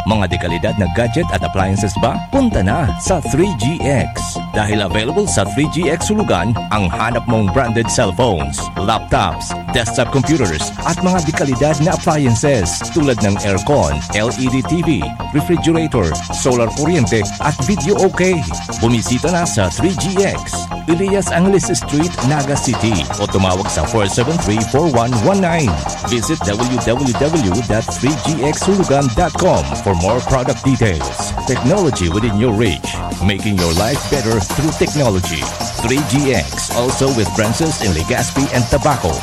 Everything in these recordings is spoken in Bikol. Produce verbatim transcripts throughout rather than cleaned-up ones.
Mga dekalidad na gadget at appliances ba? Punta na sa three G X. Dahil available sa three G X Hulugan ang hanap mong branded cellphones, laptops, desktop computers, at mga dekalidad na appliances tulad ng aircon, L E D T V, refrigerator, solar kuryente, at video okay. Bumisita na sa three G X, Elias Angeles Street, Naga City, o tumawag sa four seven three, four one one nine. Visit w w w dot three g x hulugan dot com for more product details. Technology within your reach, making your life better through technology. Three G X, also with branches in Legazpi and Tabaco.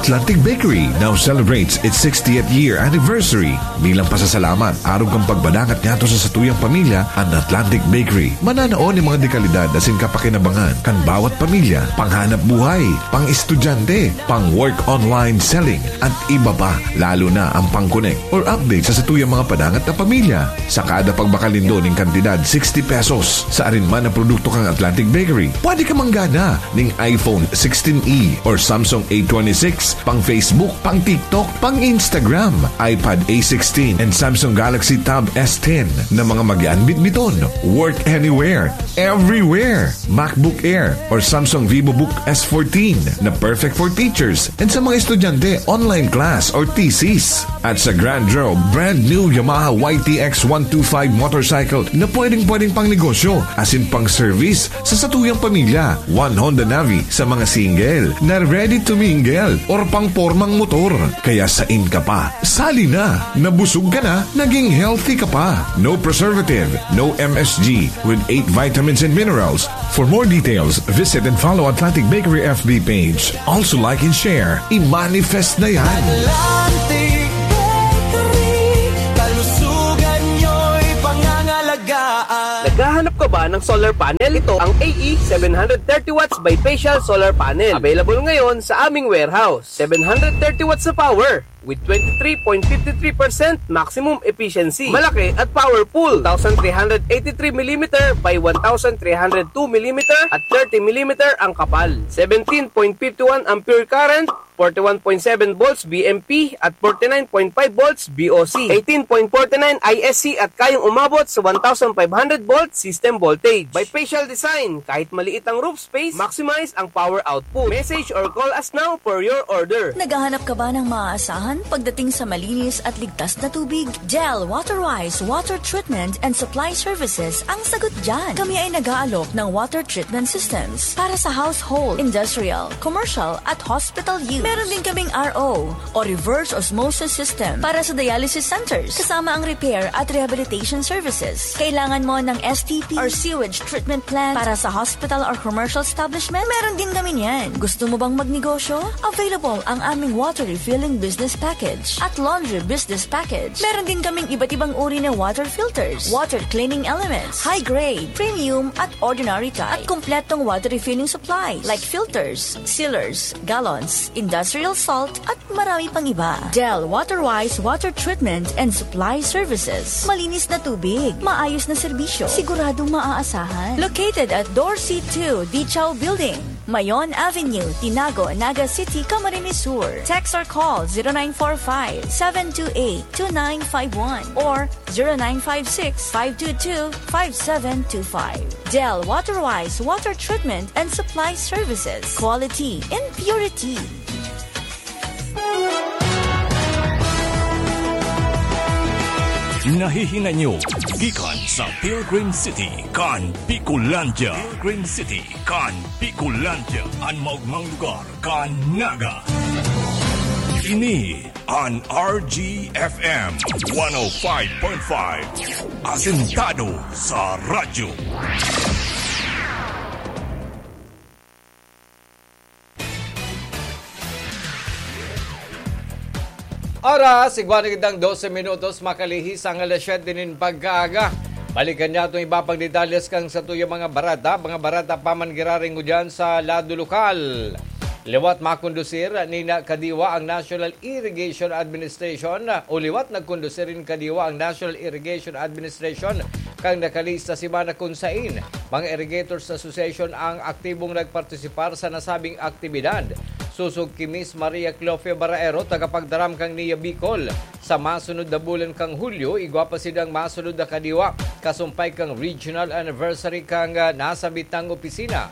Atlantic Bakery now celebrates its sixtieth year anniversary. Bilang pasasalamat, arog kan pagbadangat niyato sa satuyang pamilya, an Atlantic Bakery mananao nin mga dekalidad asin kapakinabangan kan bawat pamilya, panghanap buhay, pang-estudyante, pang-work online selling, at iba pa, lalo na ang pang-connect or update sa satuyang mga padangat na pamilya. Sa kada pagbakal nindo nin kantidad sixty pesos sa arin man na produkto kan Atlantic Bakery, pwede ka manggana ning iPhone sixteen E or Samsung A twenty-six, pang Facebook, pang TikTok, pang Instagram, iPad A sixteen and Samsung Galaxy Tab S ten na mga magaan bitbiton. Work anywhere, everywhere. MacBook Air or Samsung VivoBook S fourteen na perfect for teachers and sa mga estudyante, online class or thesis. At sa Grand Draw, brand new Yamaha Y T X one two five motorcycle na pwedeng-pwedeng pang negosyo asin pang service sa satuyang pamilya. One Honda Navi sa mga single na ready to mingle or pang pormang motor. Kaya sain ka pa, sali na! Nabusog ka na, naging healthy ka pa. No preservative, no M S G, with eight vitamins and minerals. For more details, visit and follow Atlantic Bakery F B page. Also like and share. I-manifest na yan! Atlantic Bakery, kalusugan nyo'y pangangalagaan. Naghahanap ka ba ng solar panel? Ito ang A E seven hundred thirty watts bifacial solar panel. Available ngayon sa aming warehouse. Seven hundred thirty watts na power with twenty-three point five three percent maximum efficiency. Malaki at powerful. Two thousand three hundred eighty-three millimeter by one thousand three hundred two millimeter at thirty millimeter ang kapal. Seventeen point five one ampere current, forty-one point seven volts B M P at forty-nine point five volts B O C. Eighteen point forty-nine I S C at kayang umabot sa one thousand five hundred volt system voltage. Bifacial design, kahit maliit ang roof space, maximize ang power output. Message or call us now for your order. Naghahanap ka ba ng maaasahan pagdating sa malinis at ligtas na tubig? Del Waterwise Water Treatment and Supply Services ang sagot dyan. Kami ay nag-aalok ng water treatment systems para sa household, industrial, commercial at hospital use. Meron din kaming R O o reverse osmosis system para sa dialysis centers, kasama ang repair at rehabilitation services. Kailangan mo ng S T P or sewage treatment plant para sa hospital or commercial establishment? Meron din kami niyan. Gusto mo bang magnegosyo? Available ang aming water refilling business package at laundry business package. Meron din kaming iba't ibang uri na water filters, water cleaning elements, high grade, premium at ordinary type, at kompletong water refilling supplies like filters, sealers, gallons, industrial salt, at marami pang iba. Del Waterwise Water Treatment and Supply Services. Malinis na tubig, maayos na serbisyo, siguradong maaasahan. Located at Dorsey two Dichaw Building, Mayon Avenue, Tinago, Naga City, Camarines Sur. Text or call zero nine four five, seven two eight, two nine five one or zero nine five six, five two two, five seven two five. Del Waterwise Water Treatment and Supply Services. Quality in purity. Nahihinay nyo gikan sa Pilgrim City kan Bicolandia. Pilgrim City kan Bicolandia, an maogmang lugar kan Naga. Ini an R G F M one oh five point five, asentado sa radyo. Oras, igwa na kitang dose minutos, makalihis ang alas siyete nin pagkaaga. Balikan niya itong iba pang detalles kan satuyang mga bareta. Mga bareta pa man giraringo dyan sa lado lokal. Liwat makondusir nin kadiwa ang National Irrigation Administration, o liwat nagkondusir nin kadiwa ang National Irrigation Administration kan nakalihis na semana, kun sain mga Irrigators Association ang aktibong nagpartisipar sa nasabing aktibidad. Sosog ki Miss Maria Cleofia Baraero, tagapagdaram kan Nia Bicol. Sa masunod na bulan kan Hulyo, igwa pa sidang masunod na kadiwa, kasumpay kan regional anniversary kan, ah, nasabitang opisina.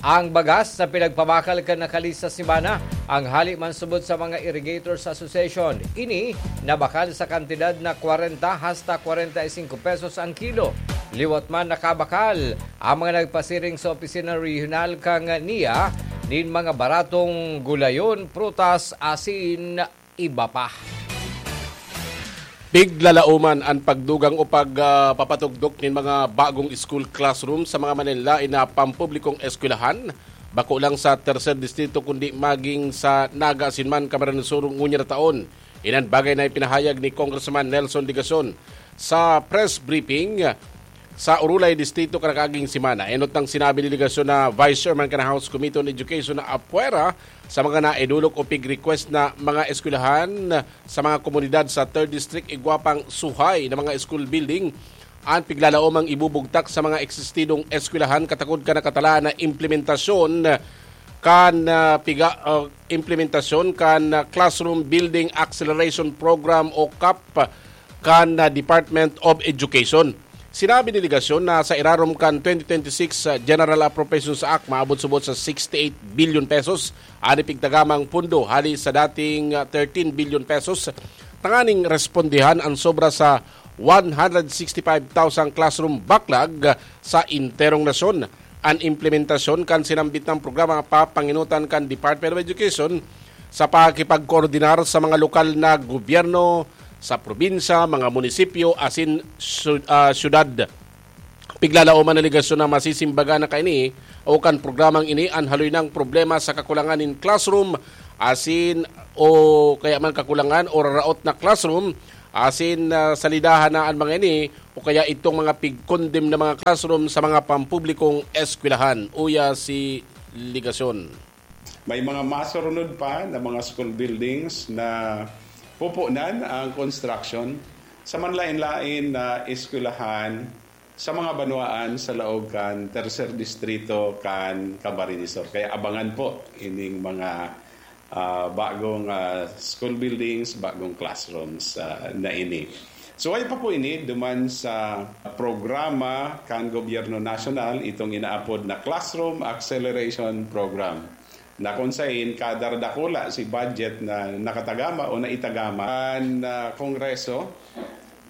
Ang bagas na pinagpabakal kan nakalista semana, ang hali man subot sa mga Irrigators Association. Ini nabakal sa kantidad na kwarenta hasta kwarenta y singko pesos ang kilo. Liwat man nakabakal ang mga nagpasiring sa opisina rehiyonal kan Nia nin mga baratong gulayon, prutas, asin iba pa. Piglalaoman an pagdugang o pag, ah, papatugdok nin mga bagong school classroom sa mga manlaen-laen na pampublikong eskwelahan, bako lang sa Tercer Distrito kundi maging sa Naga asin man Camarines Sur ngunyan na taon. Inan bagay na ipinahayag ni Congressman Nelson Legacion sa press briefing sa Urulay Distrito kan nakaaging semana. Enot nang sinabi ni Legacion na Vice Chairman kan House Committee on Education na apwera sa mga naidolok o pig-request na mga eskwelahan sa mga komunidad sa Third District, igwa pang suhay na mga school building an piglalaomang ibubugtak sa mga eksistidong eskwelahan katakod kan nakatalaan na implementasyon kan, ah, piga, ah, implementasyon kan, ah, Classroom Building Acceleration Program o cap kan, ah, Department of Education. Sinabi ni Legacion na sa irarom kan twenty twenty-six, ah, General Appropriations Act, maabot subot sa sixty-eight billion pesos an ipigtagamang pondo hali sa dating, ah, thirteen billion pesos, tanganing respondihan ang sobra sa one hundred sixty-five thousand classroom backlog sa enterong nasyon. An implementasyon kan sinambit na programa papanginutan kan Department of Education sa pakikipagkoordinar sa mga lokal na gobyerno sa probinsya, mga munisipyo, asin syu-, ah, syudad. Piglalaoman na Legacion na masisimbagan na kaini o kan programang ini an haloy nang problema sa kakulangan nin classroom, asin o kaya man kakulangan o raraot na classroom, asin, ah, salidahan na an mga ini o kaya itong mga pigkondem na mga classroom sa mga pampublikong eskwelahan. Uya si Legacion. May mga masurunod pa na mga school buildings na pupunan ang construction sa manlain-lain na eskwelahan sa mga banwaan sa laog kan Tercer Distrito kan Camarines Sur. Kaya abangan po ining mga, ah, bagong, ah, school buildings, bagong classrooms, ah, na ini. Suway pa po ini duman sa programa kan gobyerno nasyonal, itong inaapod na Classroom Acceleration Program, na kung sain kada dakula si budget na nakatagama o naitagama kan, ah, Kongreso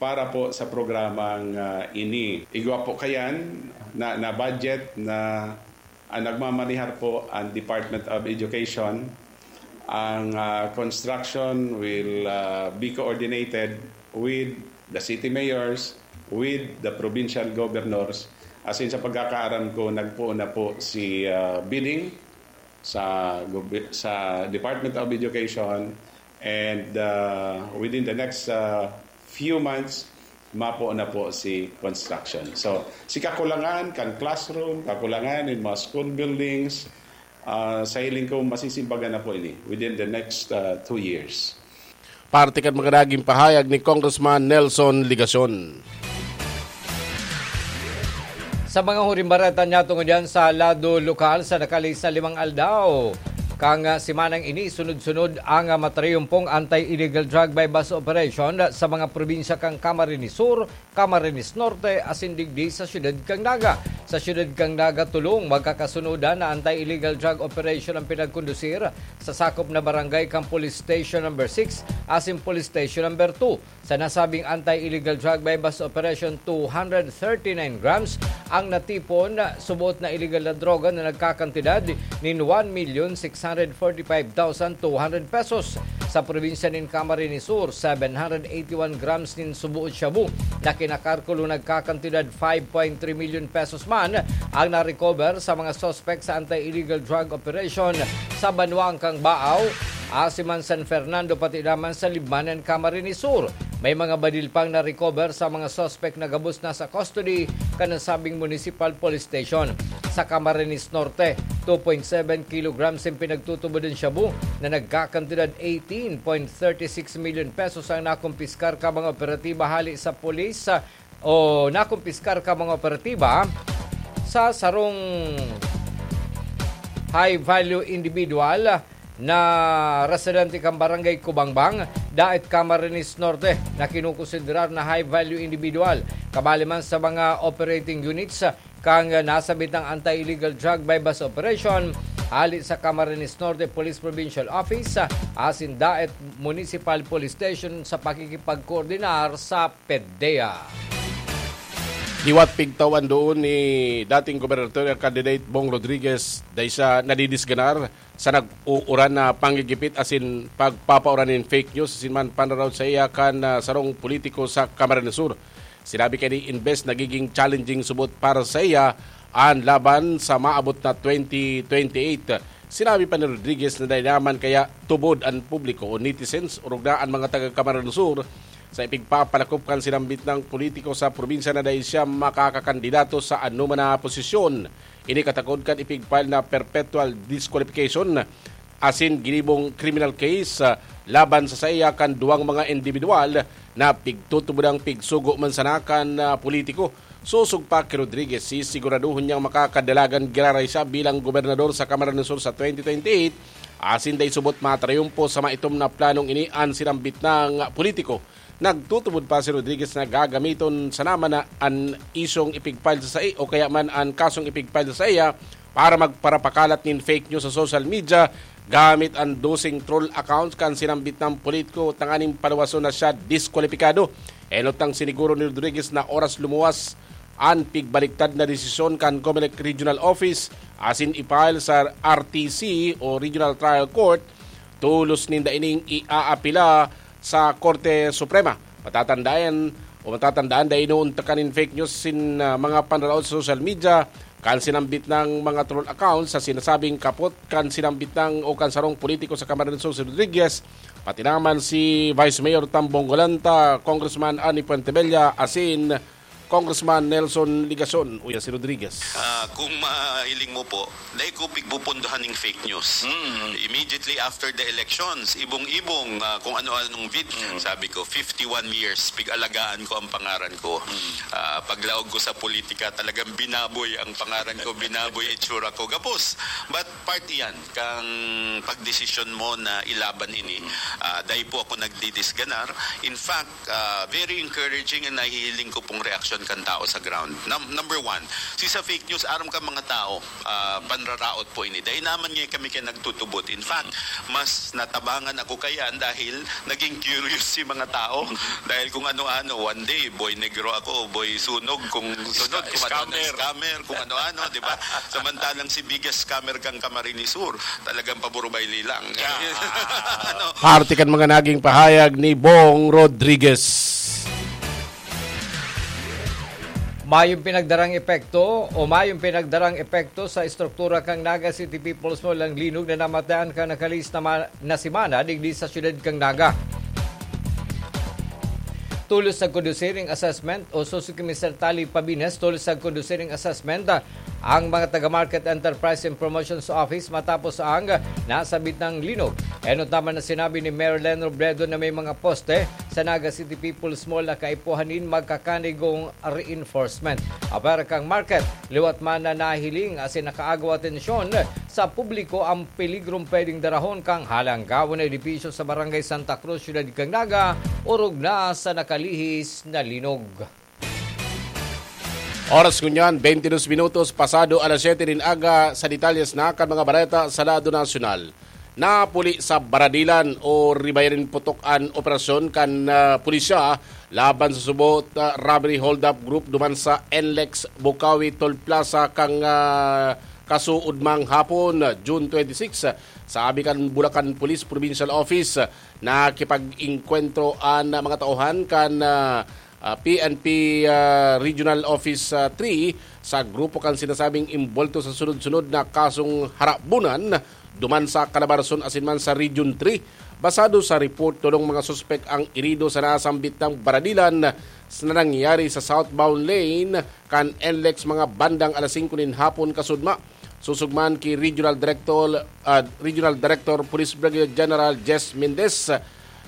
para po sa programang, ah, ini. Igwa po kayan na, na budget na ang nagmamanihar po ang Department of Education. Ang, ah, construction will, ah, be coordinated with the city mayors, with the provincial governors. As in, sa pagkakaaram ko, nagpoon na po si, ah, bidding sa gobi-, sa Department of Education, and, ah, within the next, ah, few months, mapo na po si construction. So, si kakulangan kan classroom, kakulangan in mga school buildings, ah, sa hiling ko, masisimbagan na po ini within the next, ah, two years. Parte kan mga naging pahayag ni Congressman Nelson Legacion. Sa mga huring bareta niya tungod yan sa lado lokal, sa nakalista limang aldaw kang, ah, semanang ini, sunod-sunod ang, ah, matriyumpong anti-illegal drug buy-bust operation sa mga probinsya kan Camarines Sur, Camarines Norte, asin digdi sa siyudad kan Naga. Sa siyudad kan Naga, tolong magkakasunodan na anti-illegal drug operation ang pinagkondusir sa sakop na barangay kan Police Station Number Six asin Police Station Number Two. Sa nasabing anti-illegal drug buy-bust operation, two hundred thirty-nine grams ang natipon, suboot na illegal na droga na nagkakantidad nin one million six hundred forty-five thousand two hundred pesos. Sa probinsya nin Camarines Sur, seven hundred eighty-one grams nin suboot shabu na kinakalkulo nagkakantidad five point three million pesos man ang na-recover sa mga suspect sa anti-illegal drug operation sa banwaan kan Baao, asin man San Fernando, pati naman sa Libmanan, Camarines Sur. May mga badil pang na-recover sa mga suspect na gabos na sa custody kan nasabing Municipal Police Station. Sa Camarines Norte, two point seven kilograms ang pinagtutubodan shabu na nagkakantidad eighteen point thirty six million pesos ang nakumpiskar kan mga operatiba hali sa pulis, ah, o nakumpiskar kan mga operatiba sa sarong high-value individual na residente kan Barangay Kubangbang, Daet, Camarines Norte, na kinukonsiderar na high-value individual. Kabali man sa mga operating units kan nasabitang anti-illegal drug buy-bust operation, hali sa Camarines Norte Police Provincial Office asin Daet Municipal Police Station sa pakikipagkoordinar sa PDEA. Liwat pigtawan doon ni dating gubernatorial candidate Bong Rodriguez, dai siya nadidisganar sa nag-uuran na panggigipit asin pagpapauran nin fake news asin man panraraot sa iya kan, ah, sarong politiko sa Camarines Sur. Sinabi kaya ni Inbes, nagiging challenging subot para sa iya an laban sa maabot na twenty twenty-eight. Sinabi pa ni Rodriguez na dai naman kaya tubod an publiko o netizens, orog na an mga taga Camarines Sur, sa ipigpapalakop kan sinambit nang politiko sa probinsya na dai siya makakakandidato sa anoman na posisyon. Ini katakod kan ipigfile na perpetual disqualification asin ginibong criminal case, ah, laban sa saiya kan duwang mga indibidwal na pigtutubodang pigsugo man sana kan, ah, politiko. Sosog pa ki Rodriguez, sisiguraduhon niyang makakadalagan giraray siya bilang gobernador sa Camarines Sur sa twenty twenty-eight, asin dai subot matrayumpo sa maitom na planong ini an sinambit nang politiko. Nagtutubod pa si Rodriguez na gagamiton sana man na an isyong ipigfile sa sai o kaya man an kasong ipigfile sa saiya para magparapakalat nin fake news sa social media gamit an doseng troll accounts kan sinambit nang politiko tanganing paluwason na siya diskwalipikado. Enot nang siniguro ni Rodriguez na oras lumuwas an pigbaliktad na desisyon kan Comelec Regional Office asin i-file sa R T C o Regional Trial Court, tolos ninda ining iaapila sa Korte Suprema. Matatandaan o matatandaan, dai inoontakan nin fake news sin, ah, mga panraraot sa social media kan sinambit nang mga troll accounts sa sinasabing kapot kan sinambit nang o kan sarong politiko sa Camarines Sur, si Rodriguez, pati naman si Vice Mayor Tambong Golanta, Congressman Ani Fuentebella, asin Congressman Nelson Legacion. Uya si Rodriguez. Ah, kung mahiling mo po, dai ko pigpupundohan ning fake news. Mm. Immediately after the elections, ibong-ibong, ah, kung ano-anong vid-, Mm. sabi ko, "Fifty-one years, pig-alagaan ko ang pangaran ko." Mm. Ah, paglaog ko sa politika, talagang binaboy ang pangaran ko, binaboy itsura ko. Gabos. But part iyan kang pagdesisyon mo na ilaban ini. Mm. Ah, dai po ako nagdidisganar. In fact, ah, very encouraging ang nahihiling ko pong reaksyon kan tao sa ground. Num-, number one, si sa fake news, aram ka mga tao, ah, panraraot po ini. Dai naman nga kami kaya nagtutubod. In fact, mas natabangan ako kayan dahil naging curious si mga tao. Dahil kung ano-ano, one day, boy negro ako, boy sunog, kung sunod, Sca-, kung ano-ano, scammer. Scammer, kung ano-ano, di ba? Samantalang si biggest scammer kang Camarines Sur, talagang paburubay lilang. Yeah. Ano? Parte kan mga naging pahayag ni Bong Rodriguez. Mayong pinagdarang epekto o mayong pinagdarang epekto sa estruktura kan Naga City People's Mall ang linog na namatayan kan nakalihis na ma-, na semana digdi sa siyudad kan Naga. Tolos nagkondusiring assessment o susi ki Mister Tali Pabines, tolos nagkondusiring assessment, ah, ang mga taga Market Enterprise and Promotions Office matapos ang nasabit na linog. Enot naman na sinabi ni Mayor Len Robredo na may mga poste sa Naga City People's Mall na kaipuhan nin magkakanigong reinforcement. Apwera kan market, liwat man na nahiling asin nakaagaw atensyon sa publiko ang peligrong pwedeng darahon kan halanggawon na edipisyo sa Barangay Santa Cruz, Siyudad kan Naga, orog na sa nakalihis na linog. Oras ngunyan, twenty-two minutos pasado alas siyete nin aga. Sa detalyes na kan mga bareta sa lado nasyonal. Napuli sa baradilan o ribayan nin putok an operasyon kan, ah, pulisya laban sa subot, ah, robbery hold-up group duman sa N L E X Bukawi Toll Plaza kan, ah, kasuodmang hapon, June twenty-six. Sabi kan Bulacan Police Provincial Office, nakipag-engkwentro an mga tauhan kan, ah, ah, P N P, ah, Regional Office, ah, three sa grupo kan sinasabing imbolto sa sunod-sunod na kasong harabunan duman sa Calabarzon asin man sa Region three. Basado sa report, tolong mga suspek ang irido sa nasambit na baradilan na nangyari sa southbound lane kan N L E X mga bandang alas singko nin hapon kasudma. Sosog man ki Regional Director, ah, Regional Director Police Brigadier General Jess Mendez,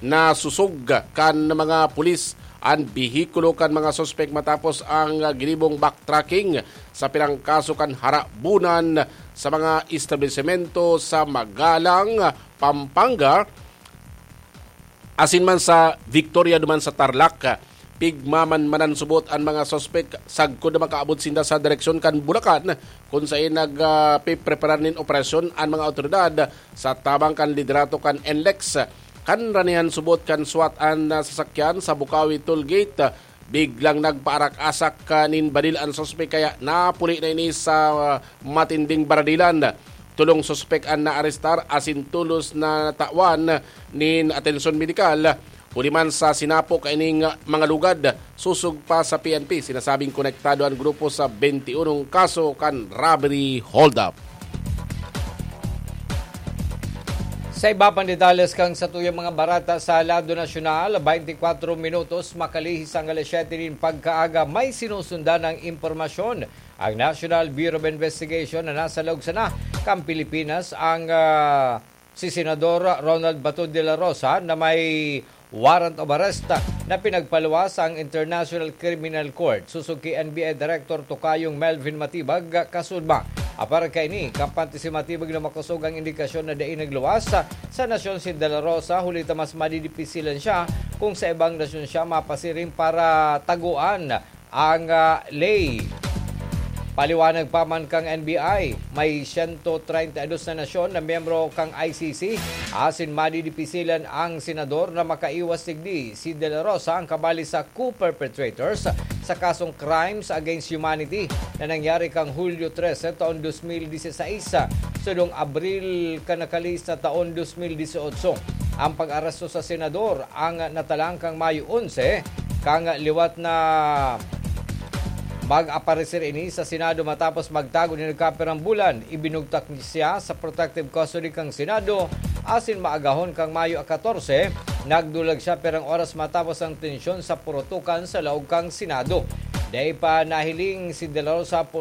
na sosog kan mga pulis an behikulo kan mga suspek matapos ang ginibong backtracking sa pirang kaso kan harabunan sa mga establisemento sa Magalang, Pampanga, asin man sa Victoria duman sa Tarlac. Pigmamanmanan subot an mga suspek sagkod na makaabot sinda sa direksyon kan Bulacan, kun saen nagpipreparar nin operasyon an mga awtoridad sa tabang kan liderato kan NLEX. Kan ranihan subot kan swat an, ah, sasakyan sa Bukawi Toll Gate, biglang nagpaarak-asak, ah, nin baril an suspek kaya napuli na ini sa, ah, matinding baradilan. Tolong suspek an naarestar asin tolos na natawan nin atensyon medikal. Huli man sa sinapo kaining mga lugad, susog pa sa P N P. Sinasabing konektado an grupo sa twenty-one kaso kan robbery holdup. Sa iba pang detalles kan satuyang mga barata sa lado nasyonal, twenty-four minutos makalihis ang alas siyete nin pagkaaga, may sinusundan ang impormasyon ang National Bureau of Investigation na nasa laog sana kan Pilipinas ang, ah, si Senador Ronald Bato de la Rosa na may warrant of arrest na pinagpaluwas ang International Criminal Court. Susog ki N B I Director Tokayong Melvin Matibag, kasunod ba? Apar kaini, kampante si Matibag na makosog ang indikasyon na dai nagluwas sa nasyon si De La Rosa, huli ta mas madidipisilan siya kung sa ibang nasyon siya mapasiring para taguan ang, ah, ley. Paliwanag pa man kan N B I, may sento treinta y dos na nasyon na miyembro kan I C C, asin madidipisilan ang senador na makaiwas digdi. Si De La Rosa ang kabali sa co-perpetrators sa kasong crimes against humanity na nangyari kan Hulyo trese taon dos mil diseseis, sudong Abril kan nakalihis na taon dos mil dieciocho. Ang pag-aresto sa senador ang natalang kan Mayo onse, kan liwat na mag-aparecer ini sa Senado matapos magtago nin nagkapirang bulan. Ibinugtak siya sa protective custody kan Senado asin maagahon kan Mayo katorse, nagdulag siya pirang oras matapos ang tensyon sa purutukan sa laog kan Senado. Dai pa nahiling si De La Rosa